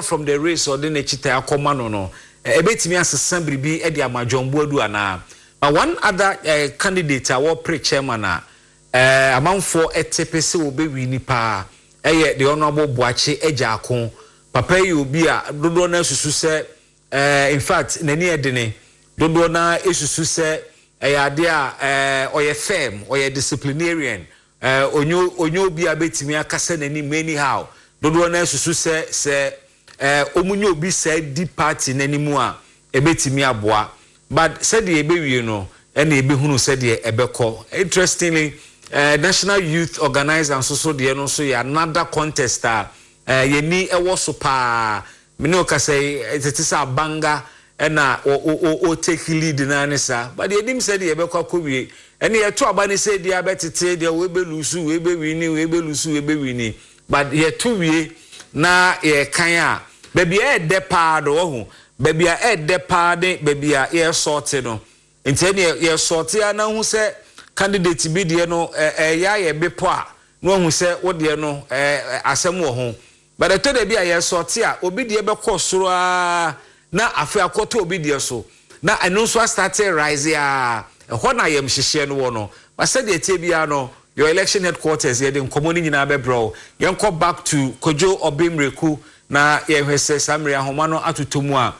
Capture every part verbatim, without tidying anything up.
From the race ɔde n'akyi ta akɔma no no ebetumi asesa biribi de ama John Boadu anaa. But one other uh, candidate a wɔpere chairman a uh, amanfoɔ ɛte pe sɛ wɔbɛwi nipa ɛyɛ the Honourable Boakye Agyarko. Papa yi, obi a dodoɔ no asusu sɛ uh, in fact, n'ani ɛdene, dodoɔ no esusu sɛ ɛyɛ adeɛ a ɔyɛ firm, ɔyɛ disciplinarian, onye onye obi a bɛtumi akasa n'anim anyhow. Dodoɔ no asusu sɛ sɛ ɛɛ wɔn nye obi sɛ di party n'anim a, ebɛtumi aboa. But sɛdeɛ ɛbɛwie no, ɛna ebɛhunu sɛdeɛ ɛbɛkɔ. Interestingly, uh, national youth organizer nso so deɛ no nso yɛ another contest a uh, yɛni ɛwɔ so paa. Mene ɔkasa yi, tete sɛ Abanga ɛna o o o take lead naa ne saa, but yɛnim sɛdeɛ yɛbɛkɔ akɔwie. Ɛne yɛto aba ne sɛ deɛ abɛtete deɛ wɔbɛ lose, wɔbɛ win, wɔbɛ lose, wɔbɛ win, but yɛto wie na yɛkan a, baabi a ɛɛdɛ paa do wɔ ho, baabi a ɛɛdɛ paa ne baabi a yɛresɔɔte no. Nti ɛne yɛsɔɔte a, na ho sɛ candidate bi deɛ no ɛyɛ ayɛ bepɔ a, na wahu sɛ wo deɛ no ɛɛ asɛm wɔ ho. But ɛtɔ da bi a yɛsɔɔte a, obi deɛ bɛkɔ soro aa na afei akɔtɔ obi deɛ so, na ɛno nso astart rise a, ɛhɔ na yɛm hyehyɛ no wɔ no. But sɛdeɛ tie biara no, your election headquarters, yɛde nkɔmɔ no nyinaa bɛbrɛ wo. Yɛnkɔ back to Kojo Obimreku na yɛhwɛ sɛ saa mmere ahoma no atotɔ mu a.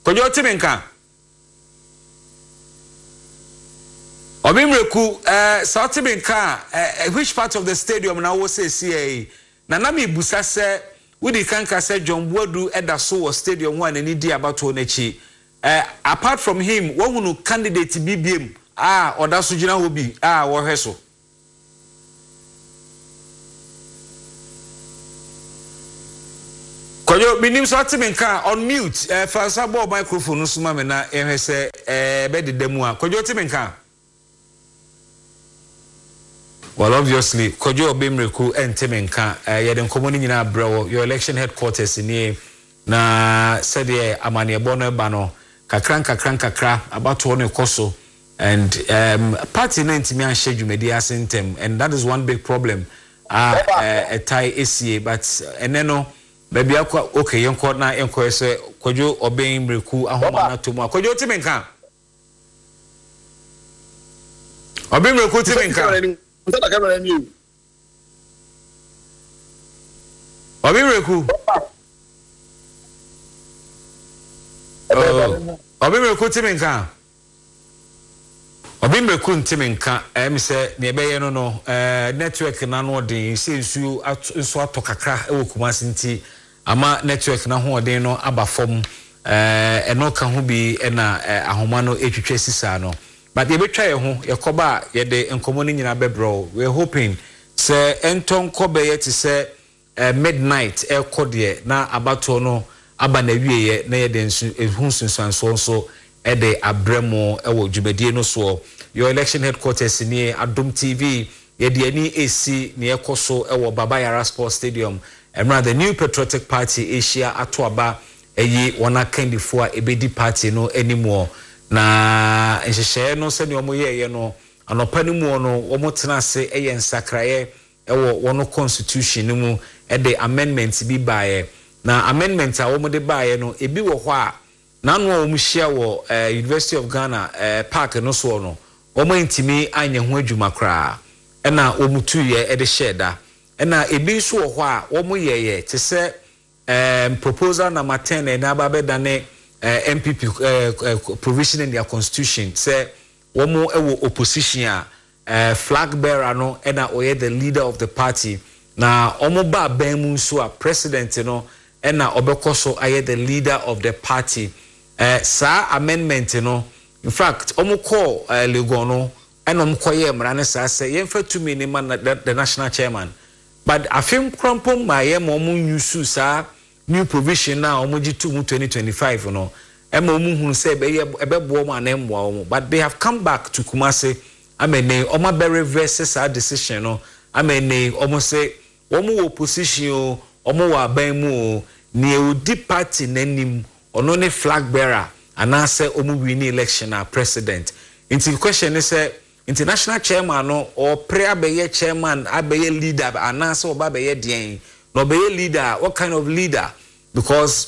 Kojo, timi nka Obimreku ɛɛ saa, timi nka ɛɛ which part of the stadium na wɔ sɛsi yi na na mi busa sɛ wodi kanka sɛ John Boadu ɛda so wɔ stadium hɔ a n'ani di abatoɔ n'akyi? ɛɛ apart from him, wɔhunu candidate bi biem a ɔda so gyina hɔ bi a wɔhwɛ so? Kwadwo, menim sɛ ɔte me nka. On mute, ɛɛ fa nsa bɔɔ microphone no so ma me na yɛhwɛ sɛ ɛɛ bɛdeda mu a. Kwadwo, te me nka? Well, obviously Kwadwo Obemreku ɛnte me nka. ɛɛ yɛde nkɔmɔ no nyinaa brɛ wɔ your election headquarters nie, na sɛdeɛ amanneɛbɔ no ba no, kakra nkakra nkakra abatoɔ no kɔ so, and um, party no ntumi anhyɛ dwumadi ase ntɛm, and that is one big problem a ɛtae esie. But ɛnɛ no, baabi akɔ, okay, yɛnkɔ na yɛnkɔ yɛ sɛ Kwadwo Ɔbɛn Mmireku ahoma no ato mu a. Kwadwo, te me nka? Ɔbɛn Mmireku, te me nka? Ɔbɛn Mmireku, Ɔbɛn Mmireku, te me nka? Ɔbɛn Mmireku nte me nka. Ɛm sɛ nea ɛbɛyɛ no no ɛɛ network n'ano ɔden sɛ nsuo nso atɔ kakra ɛwɔ Kumasi, nti ama network n'ahoɔden no aba fam. ɛɛ ɛno ka ho bi ɛna ɛɛ ahoma no etwitwa sisaa no. But yɛbɛtwa yɛn ho, yɛkɔba a, yɛde nkɔmɔ no nyinaa bɛbrɛ. We are hoping sɛ ɛntɔ nkɔ bɛyɛ te sɛ ɛɛ midnight ɛkɔ deɛ na abatoɔ no aba na awieɛ, na yɛde nso ehu nsunsuansoɔ nso ɛde abrɛ mu ɛwɔ dwumadie no soɔ. Your election headquarters nie, Adom T V. Yɛde ani esi nea ɛkɔ so ɛwɔ Baba Yara Sports Stadium mmerɛ the New Patriotic Party ahyia ato aba ɛyi wɔn akandifoɔ a ebedi party no anim wɔ. Na nhyehyɛeɛ no, sɛnea wɔn yɛɛyɛ no anɔpa no mu no, wɔn tena ase ɛyɛ nsakraeɛ ɛwɔ wɔn constitution no mu, ɛde amendment bi baeɛ. Na amendment a wɔn de baeɛ no, ebi wɔ hɔ a n'ano a wɔn hyia wɔ ɛɛ University of Ghana ɛɛ park no soɔ no, wɔn ntumi anyɛ ho adwuma koraa, ɛna wɔn tuyɛ ɛde hyɛɛ da. Ɛna ebi nso wɔ hɔ a wɔn yɛyɛ te sɛ ɛɛm proposal number ten ɛna aba abɛdane ɛɛ N P P ɛɛ ɛɛ provision in their constitution sɛ wɔn ɛwɔ opposition a, ɛɛ flag bearer no ɛna ɔyɛ the leader of the party, na wɔn ba abɛn mu nso a, president no ɛna ɔbɛkɔ so ayɛ the leader of the party. ɛɛ saa amendment no, in fact, wɔn kɔɔ ɛɛ Legon no, ɛna wɔn kɔyɛ mmara no saa sɛ yɛmfa tumi ne ma the, the national chairman. But afe nkorampo mmaayɛ ma wɔn use saa new provision na wɔn gye to mu twenty twenty-five no, ɛma wɔn hunu sɛ ɛbɛyɛ ɛbɛboa wɔn anaa mmoa wɔn. But they have come back to Kumasi ama ne wɔn abɛ reverse saa decision no, ama ne wɔn sɛ wɔn wɔ opposition o, wɔn wɔ aban mu o, nea odi party n'anim, ɔno ne flag bearer, anaasɛ wɔn win election a, president. Nti question ne sɛ, nti national chairman no ɔpere abɛyɛ chairman, abɛyɛ leader, anaasɛ ɔba abɛyɛ deɛn? Na ɔbɛyɛ leader, what kind of leader? Because